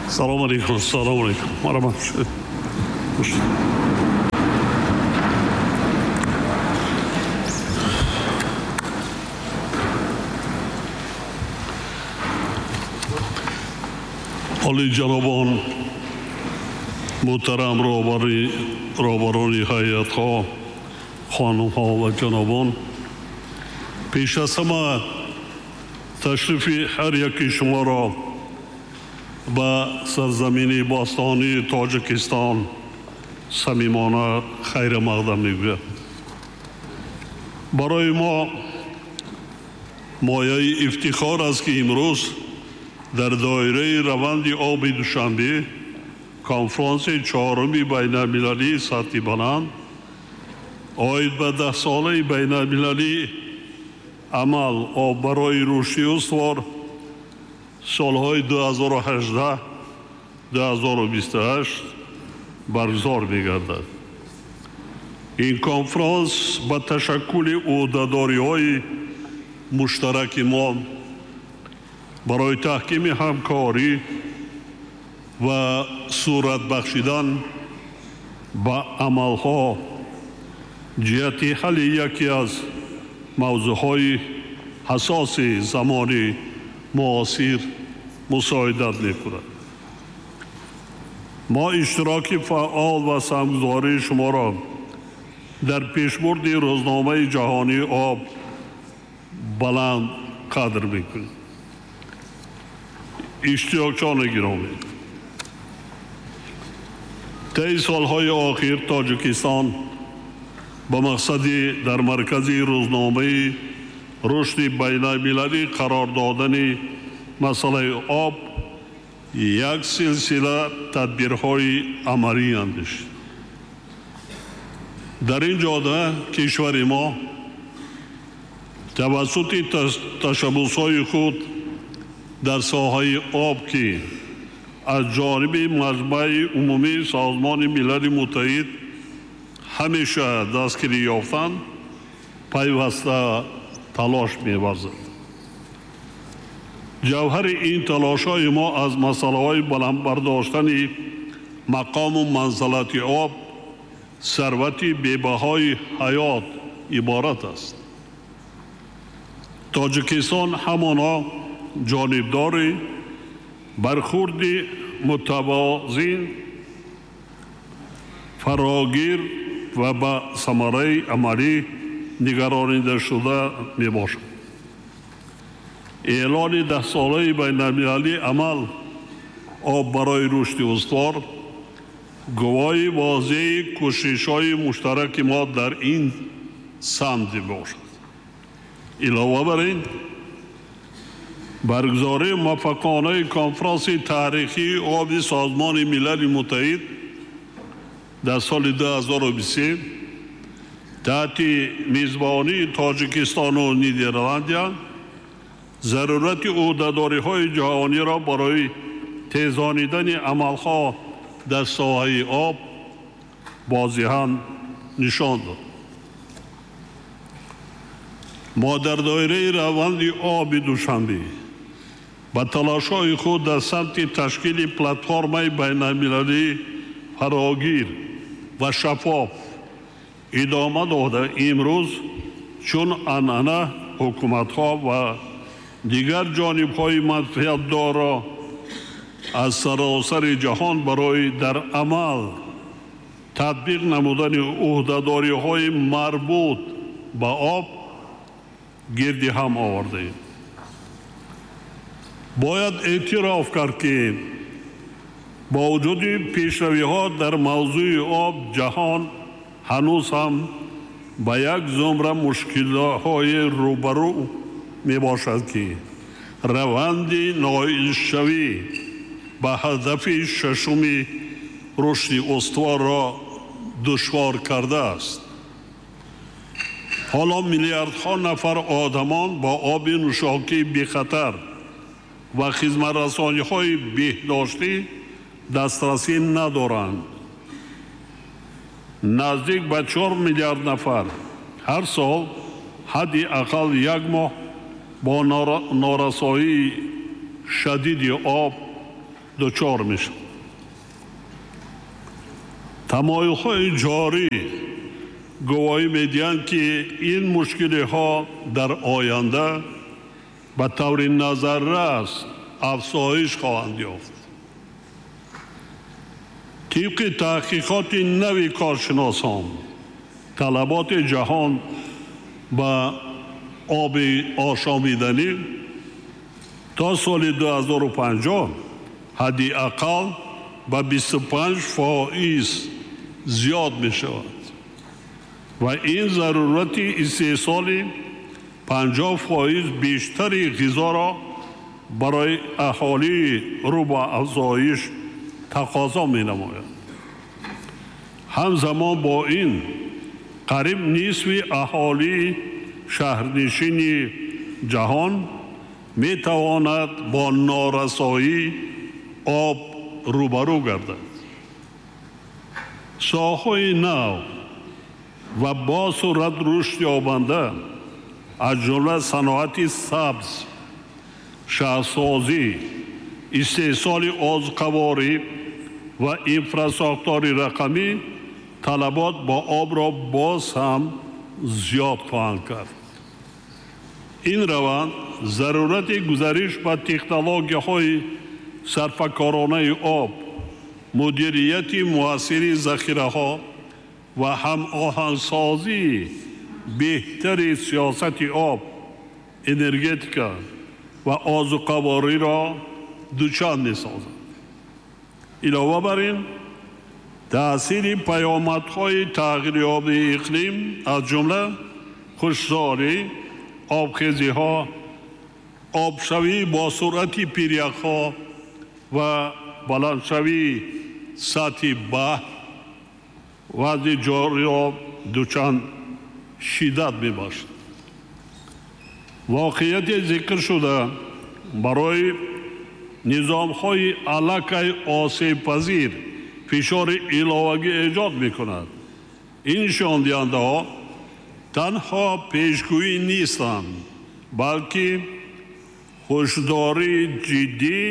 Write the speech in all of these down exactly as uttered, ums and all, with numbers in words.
Салом алейкум, салом алейкум. Марҳамат. Олиҷанобон, муҳтарам роҳбари роҳбарони ҳайатҳо, хонумҳо ва ҷанобон, пеш аз ҳама ташрифи ҳар яки шуморо ба сарзамини бостонии Тоҷикистон самимона хайрмақдам мегӯям. Барои мо мояи ифтихор аст, ки имрӯз дар доираи раванди оби Душанбе конфронси чаҳоруми байналмилалии сатҳи баланд оид ба даҳсолаи байналмилалии амал об барои рушди устувор солҳои ду ҳазору ҳаждаҳ ду ҳазору бисту ҳашт баргузор мегардад. Ин конфронс ба ташаккули ӯҳдадориҳои муштараки мо барои таҳкими ҳамкорӣ ва сурат бахшидан ба амалҳо ҷиҳати ҳалли яке аз мавзӯъҳои ҳассоси замони муосир мусоидат мекунад. Мо иштироки фаъол ва саҳмгузории шуморо дар пешбурди рӯзномаи ҷаҳонии об баланд қадр мекунем. Иштирокчиёни гиромӣ, таи солҳои охир Тоҷикистон ба мақсади дар маркази рӯзномаи рушди байналмилалӣ қарор додани масъалаи об як силсила тадбирҳои амалӣ андешид. Дар ин ҷода кишвари мо тавассути ташаббусҳои худ дар соҳаи об, ки аз ҷониби Маҷмаи Умумии Созмони Милали Муттаҳид ҳамеша дастгирӣ ёфтанд, пайваста талош меварзад. Ҷавҳари ин талошҳои мо аз масъалаҳои баланд бардоштани мақому манзалати об, сарвати бебаҳои ҳаёт иборат аст. Тоҷикистон ҳамоно ҷонибдори бархурди мутавозин, фарогир ва ба самараи амалӣ нигаронидашуда мебошад. Эълони даҳсолаи байналмилалии амал об барои рушди устувор гувоҳи возеҳи кӯшишҳои муштараки мо дар ин самт мебошад. Илова бар ин, баргузории муваффақонаи конфронси таърихии оби Созмони Милали Муттаҳид дар соли ду ҳазору бисту се таҳти мизбонии Тоҷикистону Нидерландия зарурати ӯҳдадориҳои ҷаҳониро барои тезонидани амалҳо дар соҳаи об возеҳан нишон дод. Мо дар доираи раванди оби Душанбе ба талошҳои худ дар самти ташкили платформаи байналмилалии фарогир ва шаффоф идома дода, имрӯз чун анъана ҳукуматҳо ва дигар ҷонибҳои манфиатдорро аз саросари ҷаҳон барои дар амал татбиқ намудани ӯҳдадориҳои марбут ба об гирди ҳам овардаем. Бояд эътироф кард, ки бо вуҷуди пешравиҳо дар мавзӯи об, ҷаҳон ҳанӯз ҳам ба як зумра мушкилҳои рӯбарӯ мебошад, ки раванди ноилшавӣ ба ҳадафи шашуми рушди устуворро душвор кардааст. Ҳоло миллиардҳо нафар одамон бо оби нӯшокии бехатар ва хизматрасониҳои беҳдоштӣ дастрасӣ надоранд. Наздик ба чор миллиард нафар ҳар сол ҳадди ақал як моҳ бо норасоии шадиди об дучор мешавад. Тамоюлҳои ҷорӣ гувоҳӣ медиҳанд, ки ин мушкилиҳо дар оянда ба таври назаррас афзоиш хоҳанд ёфт. Тибқи таҳқиқоти нави коршиносон, талаботи ҷаҳон ба оби ошомиданӣ то соли ду ҳазору панҷоҳ ҳадди ақал ба бисту панҷ фоиз зиёд мешавад ва ин зарурати истеҳсоли панҷоҳ фоиз бештари ғизоро барои аҳолии рӯ ба афзоиш тақозо менамояд. Ҳамзамон бо ин қариб нисфи аҳолии шаҳрнишини ҷаҳон метавонад бо норасоии об рӯбарӯ гардад. Соҳаҳои нав ва бо суръат рушд ёбанда аз ҷумла саноати сабз, шаҳрсозӣ, истеҳсоли озуқаворӣ ва инфрасохтори рақамӣ талабот ба обро боз ҳам зиёд хоҳанд кард. Ин раванд зарурати гузариш ба технологияҳои сарфакоронаи об, мудирияти муассири захираҳо ва ҳамоҳангсозии беҳтари сиёсати об, энергетика ва озуқавориро дучанд месозад. Илова бар ин, таъсири паёмадҳои тағйирёбии иқлим аз ҷумла хушксолӣ, обхезиҳо, обшавӣ бо суръати пиряхҳо ва баландшавии сатҳи баҳр вазъи ҷориро дучанд шиддат мебахшад. Воқеияти зикршуда барои низомҳои аллакай осебпазир фишори иловагӣ эҷод мекунад. Ин нишондиҳандаҳо танҳо пешгӯӣ нестанд, балки ҳушдории ҷиддӣ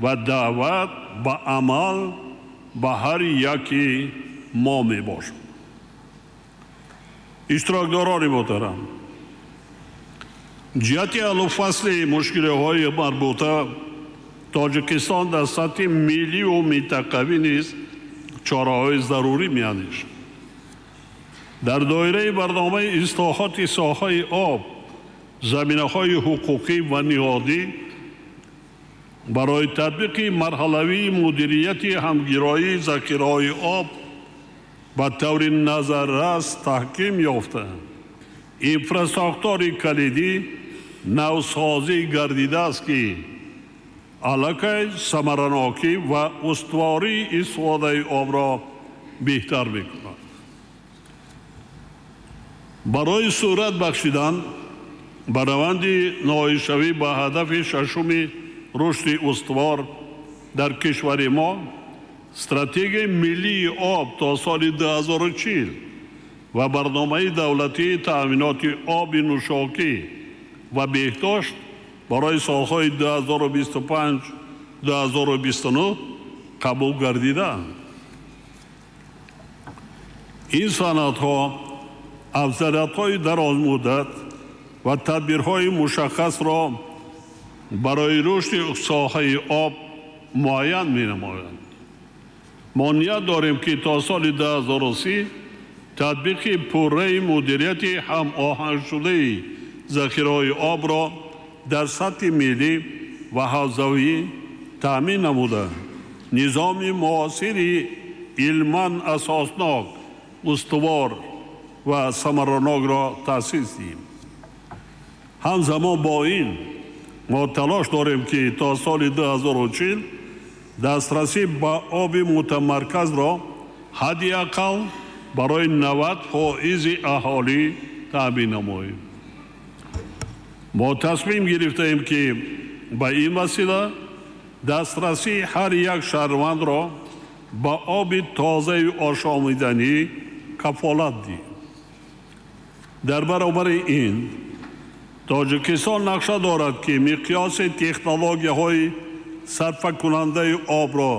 ва даъват ба амал ба ҳар яки мо мебошад. Иштирокдорони муҳтарам, ҷиҳати ҳаллу фасли мушкилиҳои марбута Тоҷикистон дар сатҳи милливу минтақавӣ низ чораҳои зарурӣ меандешад. Дар доираи барномаи ислоҳоти соҳаи об заминаҳои ҳуқуқӣ ва ниҳодӣ барои татбиқи марҳалавии мудирияти ҳамгироии захираҳои об ба таври назаррас таҳким ёфта, инфрасохтори калидӣ навсозӣ гардидааст, ки аллакай самаранокӣ ва устувории истифодаи обро беҳтар мекунад. Барои сурат бахшидан ба раванди ноилшавӣ ба ҳадафи шашуми рушди устувор дар кишвари мо стратегияи миллии об то соли ду ҳазору чил ва барномаи давлатии таъминоти оби нӯшокӣ ва беҳдошт барои солҳои ду ҳазору бисту панҷ ду ҳазору бисту нӯҳ қабул гардидаанд. Ин санадҳо афзалиятҳои дарозмуддат ва тадбирҳои мушаххасро барои рушди соҳаи об муайян менамоянд. Мо ният дорем, ки то соли ду ҳазору си татбиқи пурраи мудирияти ҳамоҳангшудаи захираҳои обро дар сатҳи миллӣ ва ҳавзавӣ таъмин намуда, низоми муосири илман асоснок, устувор ва самаранокро таъсис диҳем. Ҳамзамон бо ин мо талош дорем, ки то соли ду ҳазору чил дастрасӣ ба оби мутамарказро ҳадди ақал барои навад фоизи аҳолӣ таъмин намоем. Мо тасмим гирифтаем, ки ба ин васила дастрасии ҳар як шаҳрвандро ба оби тозаи ошомиданӣ кафолат диҳем. Дар баробари ин Тоҷикистон нақша дорад, ки миқёси технологияҳои сарфакунандаи обро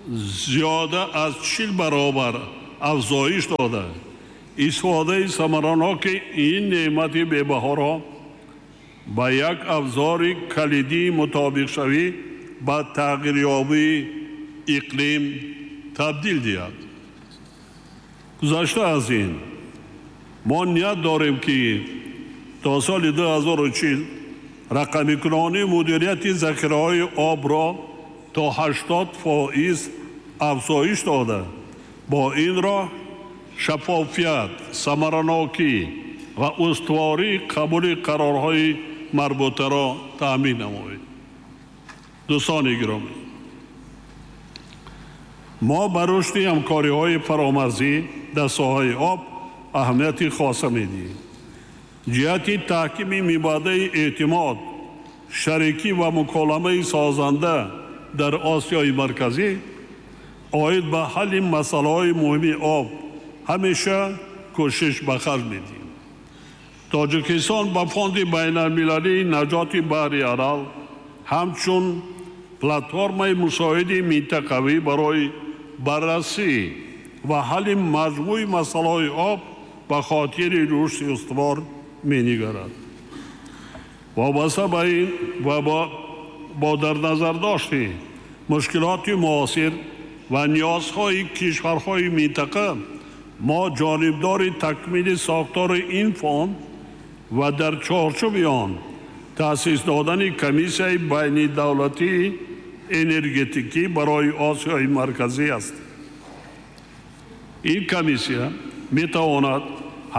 зиёда аз чил баробар афзоиш дода, истифодаи самараноки ин неъмати бебаҳоро ба як абзори калидии мутобиқшавӣ ба тағйирёбии иқлим табдил диҳад. Гузашта аз ин, мо ният дорем, ки то соли ду ҳазору чил рақамикунонии мудирияти захираҳои обро то ҳаштод фоиз афзоиш дода, бо ин роҳ шаффофият, самаранокӣ ва устувории қабули қарорҳои марбутаро таъмин намоем. Дӯстони гиромӣ, мо ба рушди ҳамкориҳои фаромарзӣ дар соҳаи об аҳамияти хоса медиҳем. Ҷиҳати таҳкими мибадаи эътимод, шарикӣ ва муколамаи созанда дар Осиёи Марказӣ оид ба ҳалли масъалаҳои муҳими об ҳамеша кӯшиш ба харҷ медиҳем. Тоҷикистон ба Фонди байналмилалии наҷоти баҳри Арал ҳамчун платформаи мусоиди минтақавӣ барои баррасӣ ва ҳалли маҷмӯи масъалаҳои об ба хотири рушди устувор менигарад. Вобаста ба ин ва бо дар назардошти мушкилоти муосир ва ниёзҳои кишварҳои минтақа, мо ҷонибдори такмили сохтори ин фонд ва дар чорчӯби он таъсис додани комиссияи байнидавлатии энергетикӣ барои Осиёи Марказӣ аст. Ин комиссия метавонад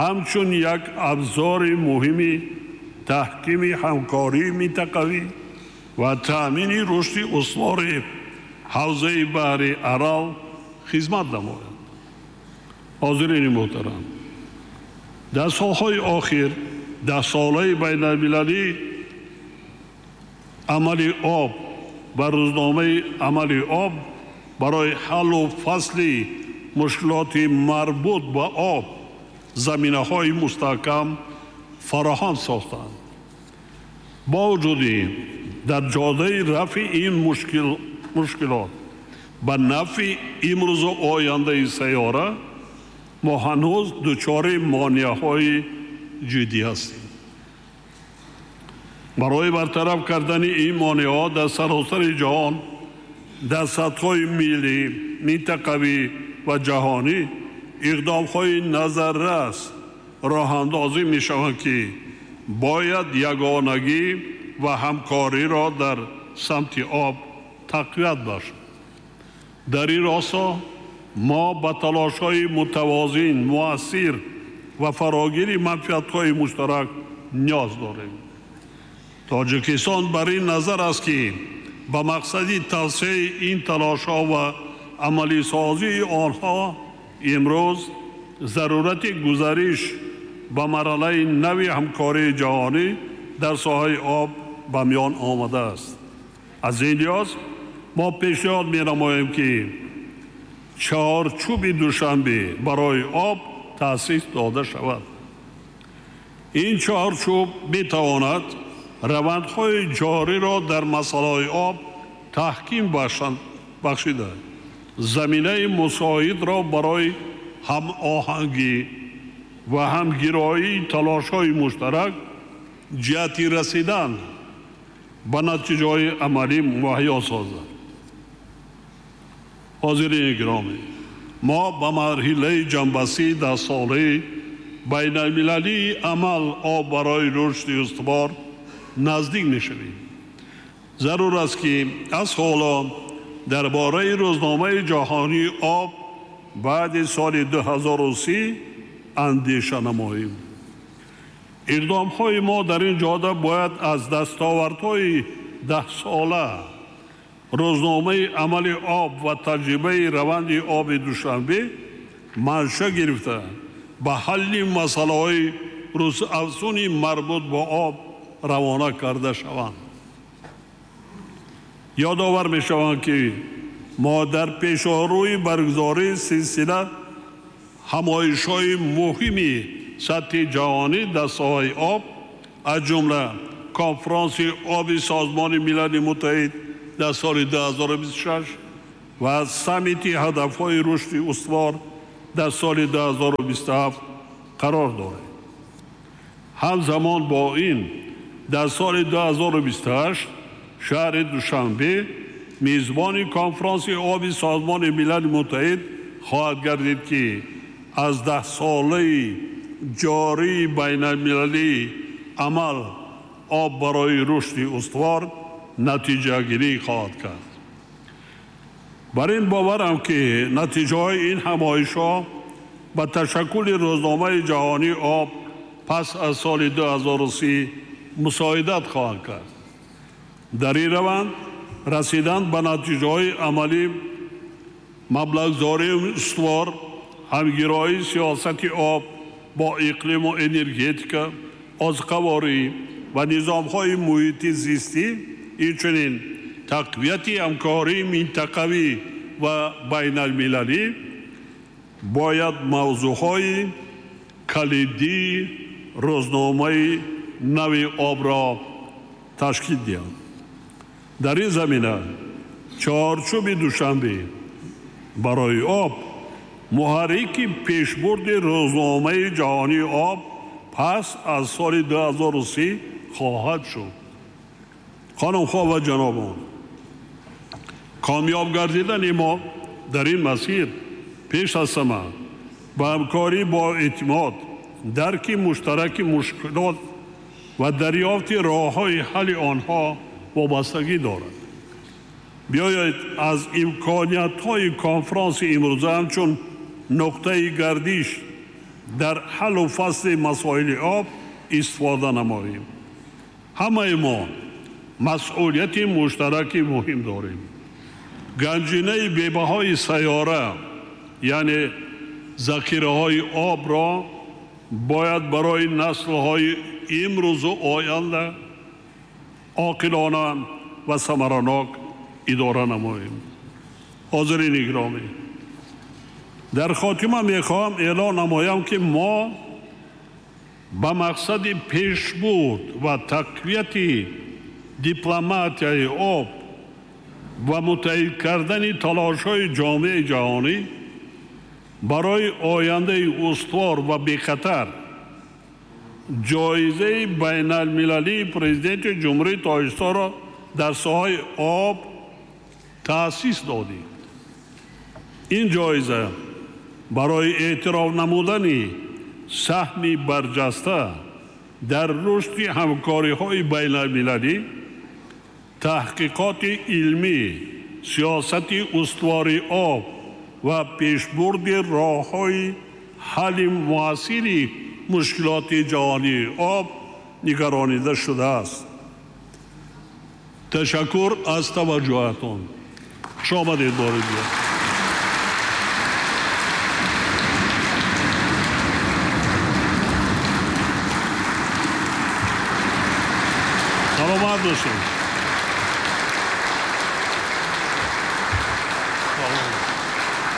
ҳамчун як абзори муҳими таҳкими ҳамкории минтақавӣ ва таъмини рушди устувори ҳавзаи баҳри Арал хизмат намояд. Ҳозирини муҳтарам, дар солҳои охир даҳсолаи байналмилалии амали об ва рӯзномаи амали об барои ҳаллу фасли мушкилоти марбут ба об заминаҳои мустаҳкам фароҳам сохтанд. Бо вуҷуди дар ҷодаи рафъи ин мушкилот ба нафъи имрӯзу ояндаи сайёра мо ҳанӯз дучори монеаҳои ҷиддӣ ҳастем. Барои бартараф кардани ин монеаҳо дар саросари ҷаҳон дар сатҳҳои миллӣ, минтақавӣ ва ҷаҳонӣ иқдомҳои назаррас роҳандозӣ мешаванд, ки бояд ягонагӣ ва ҳамкориро дар самти об тақвият бахшад. Дар ин росто мо ба талошҳои мутавозин, муассир ва фарогири манфиатҳои муштарак ниёз дорем. Тоҷикистон бар ин назар аст, ки ба мақсади тавсеаи ин талошҳо ва амалисозии онҳо имрӯз зарурати гузариш ба марҳилаи нави ҳамкории ҷаҳонӣ дар соҳаи об ба миён омадааст. Аз ин лиҳоз мо пешниҳод менамоем, ки чаҳорчӯби Душанбе барои об таъсис дода шавад. Ин чаҳорчӯб метавонад равандҳои ҷориро дар масъалаҳои об таҳким бахшида, заминаи мусоидро барои ҳамоҳангӣ ва ҳамгироии талошҳои муштарак ҷиҳати расидан ба натиҷаҳои амалӣ муҳайё созад. Ҳозирини гиромӣ, мо ба марҳилаи ҷамъбастии даҳсолаи байналмилалии амал об барои рушди устувор наздик мешавем. Зарур аст, ки аз ҳоло дар бораи рӯзномаи ҷаҳонии об баъди соли ду ҳазору си андеша намоем. Иқдомҳои мо дар ин ҷода бояд аз дастовардҳои даҳсола, рӯзномаи амали об ва таҷрибаи раванди оби Душанбе манша гирифта, ба ҳалли масъалаҳои рӯзафзуни марбут ба об равона карда шаванд. Ёдовар мешаванд, ки мо дар пешорӯи баргузории силсила ҳамоишҳои муҳими сатҳи ҷаҳонӣ дар соҳаи об, аз ҷумла конфронси оби Созмони Милали Муттаҳид дар соли ду ҳазору бисту шаш ва саммити ҳадафҳои рушди устувор дар соли ду ҳазору бисту ҳафт қарор дорад. Ҳамзамон бо ин дар соли ду ҳазору бисту ҳашт шаҳри Душанбе мизбони конфронси оби Созмони Милали Муттаҳид хоҳад гардид, ки аз даҳсолаи ҷории байналмилалии амал об барои рушди устувор натиҷагирӣ хоҳад кард. Бар ин боварам, ки натиҷаҳои ин ҳамоишҳо ба ташаккули рӯзномаи ҷаҳонии об пас аз соли ду ҳазору си мусоидат хоҳанд кард. Дар ин раванд расидан ба натиҷаҳои амалӣ, маблағгузории устувор, ҳамгироии сиёсати об бо иқлиму энергетика, озуқаворӣ ва низомҳои муҳити зистӣ, инчунин тақвияти ҳамкории минтақавӣ ва байналмилалӣ бояд мавзӯъҳои калидии рӯзномаи нави обро ташкил диҳанд. Дар ин замина чорчӯби Душанбе барои об муҳаррики пешбурди рӯзномаи ҷаҳонии об пас аз соли ду ҳазору си хоҳад шуд. Хонумҳо ва ҷанобон, комёб гардидани мо дар ин масир пеш аз ҳама ба ҳамкорӣ бо эътимод, дарки муштараки мушкилот ва дарёфти роҳҳои ҳалли онҳо вобастагӣ дорад. Биёед аз имкониятҳои конфронси имрӯза ҳамчун нуқтаи гардиш дар ҳаллу фасли масоили об истифода намоем. Ҳамаи мо масъулияти муштараки муҳим дорем. Ганҷинаи бебаҳои сайёра, яъне захираҳои обро бояд барои наслҳои имрӯзу оянда оқилона ва самаранок идора намоем. Ҳозирини гиромӣ, дар хотима мехоҳам эълон намоям, ки мо ба мақсади пешбурд ва тақвияти дипломатияи об ва муттаҳид кардани талошҳои ҷомеаи ҷаҳонӣ барои ояндаи устувор ва бехатар ҷоизаи байналмилалии президенти Ҷумҳурии Тоҷикистонро дар соҳаи об таъсис додем. Ин ҷоиза барои эътироф намудани саҳми барҷаста дар рушди ҳамкориҳои байналмилалӣ, таҳқиқоти илмӣ, сиёсати устувори об ва пешбурди роҳҳои ҳалли муассири мушкилоти ҷаҳонии об нигаронида шудааст. Ташаккур аз таваҷҷӯҳатон. Хуш омадед бори дигар. Саломат бошед.